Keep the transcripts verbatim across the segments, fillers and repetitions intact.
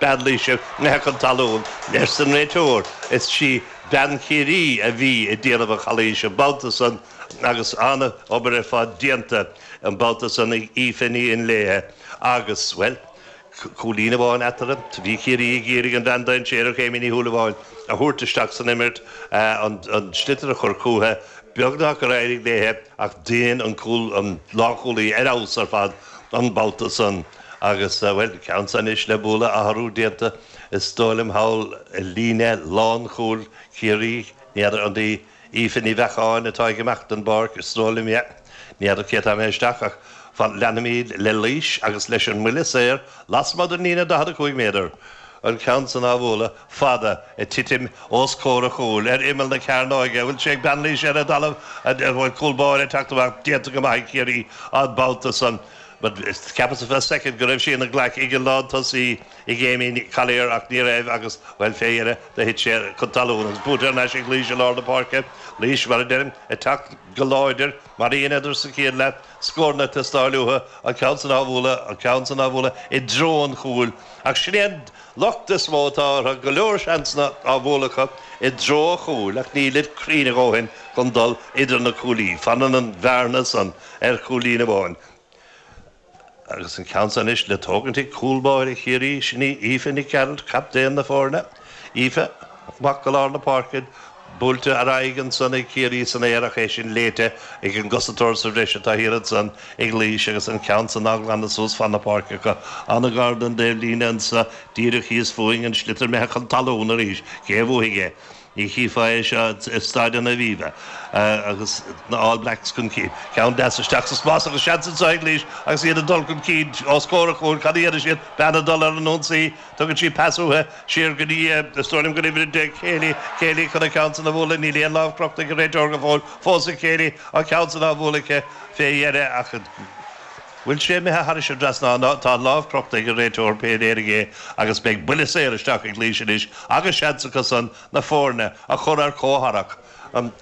Bean Laoise imithe chun talún leis an réiteoir. Is sí bean Chiarraí a bhí ag déanamh an chalaois an babhta san agus an-obair ar fad déanta an babhta san ag Aoife Ní Fhionnlaoich agus, well, cúilín amháin eatarthu. Bhí Ciarraí ag iarraidh an bhean dainséarach Amy Ní Shúilleabháin a thabhairt isteach san imirt, an sliotar a chur chuici, beagnach gur éirigh léi ach dhein an cúl an lánchúlaí ar fheabhas ar fad an babhta san agus, bhuel, ceann san anois le bualadh, athrú déanta is dóigh liom thall i líne lánchúil Chiarraí, ní fheadar an í Aoife Ní Bheacháin atá ag imeacht den bpáirc, is dóigh liom, yeah, ní fheadar cé atá imithe isteach ach leanfaimid le Laois agus leis an mbuille saor lasmuigh den líne daichead a cúig méadar. An ceann san á bhualadh fada ag titim os comhair an chúil ar imeall na cearnóige. Bhfuil sé ag bean Laoise ar an dtalamh? An bhfuil cúl báire ag teacht amach? Déanta go maith ag Ciarraí an babhta san. But cheapas ar feadh soicind go raibh sí ina glac ag an lántosaí ag Amy Collier ach ní raibh agus, bhuel, fé dheireadh do thit sé chun talún agus buaite thar n-ais ag Laois i lár na páirce. Laois, mar a deirim, ag teacht go láidir mar a dheineadar sa chéad leath, scóranna ag teastáil uathu, an ceann san á bhualadh, an ceann san á bhualadh i dtreo an chúil. Ach sin é an locht is mó atá orthu, go leor seansanna á bhualadh acu i dtreo an chúil ach nílid cruinn a dhóthain chun dul idir na cuaillí. Fanann an bhearna san ar chúilín amháin. Agus an ceann san anois le tógaint ag cúl báire Chiarraí, sin í Aoife Nic Gearailt, captaen na foirne. Aoife amach go lár na páirce, buailte ar aghaidh ansan ag Ciarraí san aer ach é sin léite ag an gcosantóir sa bhreis atá thiar ansan ag Laois agus an ceann san á ghlanadh suas fan na páirce acu. An-ghar don dtaobhlíne anso, díreach thíos fúinn, an sliotar imithe chun talún arís. Cé a bhuafaidh é? Ní chífeá é seo i Staid an Aviva agus na All Blacks chun cinn. Ceann deas isteach sa spás agus seans anseo ag Laois agus iad ag dul chun cinn os comhair an chúil. Cad a dhéanfaidh siad? Bean ag dul ar an ionsaí. Tugann sí pas uaithi siar go dtí, is dóigh liom gur uimhir a deich, Kayleigh. Kayleigh chun an ceann san a bhualadh. Níl aon lámh crochta ag an réiteoir go fóill. Fós ag Kayleigh an ceann san á bhualadh aici fé dheireadh ach bhfuil sé imithe thairis an dtrasnán? Tá an lámh crochta ag an réiteoir pé léirigh é agus beidh buille saor isteach ag Laois anois agus seans acu san na foirne a chur ar comhtharrac. An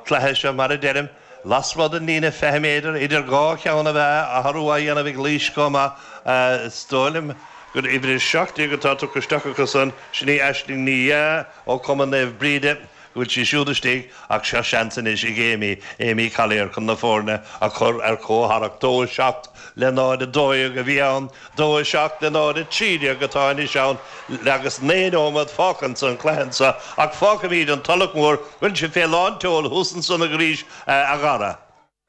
cluiche seo, mar a deirim, lasmuigh den líne fiche méadar idir dhá cheann a mheá, athrú á dhéanamh ag Laois chomh maith. Is dóigh liom gur uimhir a seacht déag atá tugtha isteach acu san, sin í Aisling Ní Dheá ó Chumann Naomh Bríde. go bhfuil sí siúd istigh ach seo seans anois ag Amy, Amy Collier chun na foirne a chur ar comhtharrac. Dó a seacht le náid a dó dhéag a bhí ann, dó a seacht le náid a trí déag atá anois ann agus naoi nóiméad fágtha san chluiche anseo ach fágfaimid an Tulach Mhór, bhfuil sé fé lán tseoil thuas ansan arís a Dhara.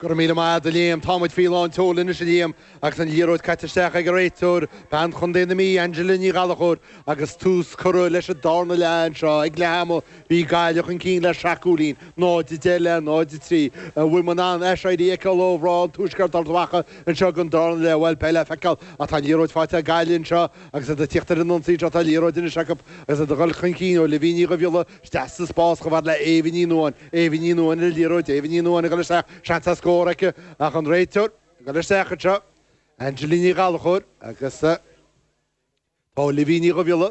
Go raibh míle maith agat a Liam. Tá muid faoi lán tseoil anois a Liam agus an liathróid caite isteach ag an réiteoir, bean Chontae na Mí, Angela Ní Ghallchóir agus tús curtha leis an darna leath anseo. Ag leath ama bhí Gaillimh chun cinn le seacht gcúilín, náid a deich le náid a trí. An bhfuil muid in ann aiséirí a fheiceáil ó mhná an Tuaiscirt Ard Mhacha anseo don darna leath? Bhuel, beidh le feiceáil ach tá an liathróid faighte ag Gaillimh anseo agus iad ag tíocht ar an ionsaí anseo. Tá liathróid anois acu agus iad ag dul chun cinn ó Livy Ní Dhubhghiolla isteach sa spás chomh fada le Éabha Ní Nuadháin. Éabha Ní Nuadháin ar an liathróid, Éabha Ní Nuadháin ag dul isteach, seans ar scór aici ach an réiteoir ag dul isteach anseo, Angela Ní Ghallchóir agus tá Livy Ní Dhubhghiolla,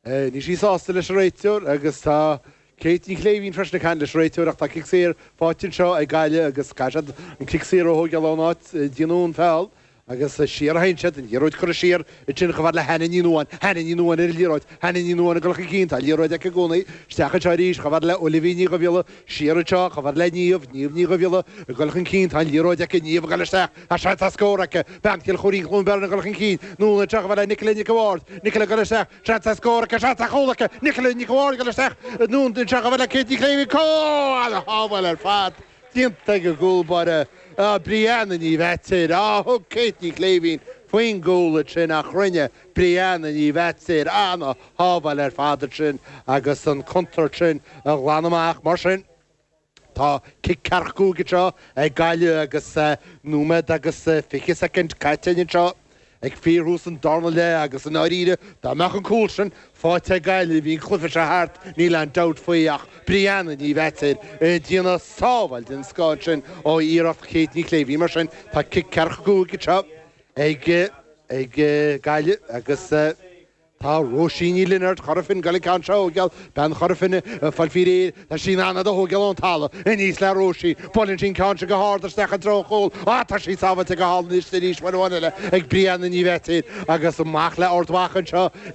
níl sí sásta leis an réiteoir agus tá Kate Ní Chléibhín freisin ag caint leis an réiteoir ach tá cic saor faighte anseo ag Gaillimh agus caithfidh siad an cic saor a thógáil ón áit a déanadh an feall. Agus siar a théann siad, an liathróid curtha siar ansin chomh fada le Hannah Ní Nuadháin. Hannah Ní Nuadháin ar an liathróid. Hannah Ní Nuadháin ag dul chun cinn. Tá an liathróid aici i gcónaí. Isteach anseo arís chomh fada le Olivia Ní Dhubhghiolla. Siar anseo chomh fada le Niamh. Niamh Ní Dhubhghiolla ag dul chun cinn. Tá an liathróid aici. Niamh ag dul isteach. Tá seans ar scór aici. Bean Chill Choirín Chluain Bheirn ag dul chun cinn. Anonn anseo chomh fada le Nicola Nic a' Bhaird. Nicola ag dul isteach. Seans ar scór aici. Seans ar chúl aici. Nicola Nic a' Bhaird ag dul isteach. Anonn anseo chomh fada le Kate Ní Chléibhín. Cúl! Ana-shábháil ar fad. Déanta ag an gcúl báire Brianna Ní Mheachair. Á, thug Kate Ní Chléibhín faoin gcúl ansin ach rinne Brianna Ní Mheachair ana-shábháil ar fad ansin agus an chontúirt sin a ghlanadh amach. Mar sin, tá cic ceathracha cúig anseo ag Gaillimh agus nóiméad agus fiche soicind caite anseo. Ag fíorthús an darna leath agus i ndáiríre dá mbeadh an cúl sin faighte ag Gaillimh bhí an cluiche seo thart, níl aon dabht faoi ach Brianna Ní Mheachair ag déanamh sábháil den scoth ansin ó iarracht Kate Ní Chléibhín. Mar sin tá cic ceathracha cúig anseo ag ag Gaillimh agus. Tá Róisín Ní Lionáird Chora Finne ag goil an ceann seo a thógáil, bean Chora Finne ag fáil faoi réir, tá sí in ann iad a thógáil ón talamh, aníos le Róisín, buaileann sí an ceann seo go hard isteach i dtreo an chúil, á tá sí sábháilte go hálainn arís uair amháin eile ag Brianna Ní Mheachair agus amach le Ard Mhacha anseo.